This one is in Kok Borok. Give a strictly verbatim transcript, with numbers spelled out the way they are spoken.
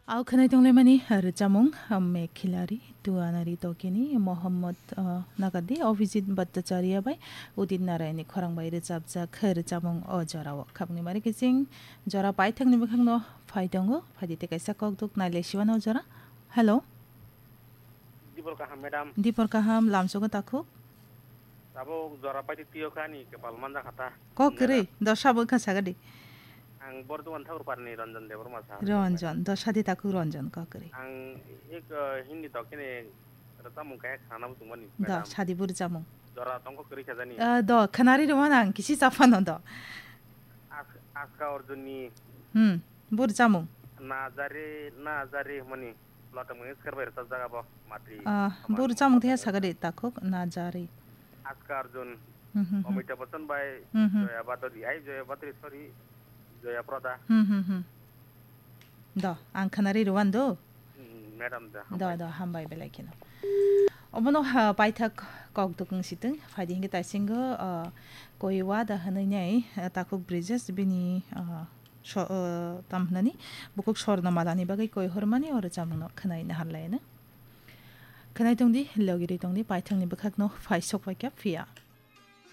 Au khwnai tonglaimani rwchapmung, ah, Mekhilari, Tuanari Tokini, Mohammad, ah, Nagadi, Abhijit Bhattacharya bai Udit Narayanni khorang bai rwchapjak rwchapmung o jorao. Khapni mari kiching jora paithakni bwkhakno phai tongo, phaidi tei kaisa kokduk nailai siwano o jora. Hello. Dibor kaham, madam. Dibor kaham, lamsogo takhuk. Tabuk jora paidi tiyo kha ani kepal manja khata. Kok kwrwi, dosa bo wngkha sagadi. Ang Bordwan Thakur Parni Ranjan Debbarma sa. Ranjan, dosa di takhuk Ranjan, kok kwrwi. Ang ik, eh, Hindi to kene rwchapmung kaya khana bo tongmani, Do, madam. Sadi bo rwchapmung. Jora tongkho kwrwi kha jani. Eh, do, khwnari rwmano ang kisi chaphano do. As-, Aska Arjunni. Hmm, bo rwchapmung. Najari, najari mani. Lotongmung skar bai rwchapjak abo matri. Ah, bo rwchapmung tei sagadi takhuk najari. Aska Arjun, Hmm, hmm, hmm. Amitabh Bachchan bai, Hmm, hmm. Joya Badori, ai Joya Badori, sorry, Joya Prada. Hmm, hmm, hmm. Do, ang khwnari rwan do. Hmm, madam da, Do, hambai. Do, hambai belai kheno. Obono ha, paithak kokduk wng sitwng, phaidi hinkhe taisingo, ah, koi wada hwnwi nai, ah, takhuk Brijesh bini, ah, so-, ah, tam hwnani, bukhuk Sorno Malani bagwi koi hormani o rwchapmungno khwnai naharlaino. Khwnai tongdi, logirwi tongdi, paithakni bwkhakno phai sok phaikha phiya.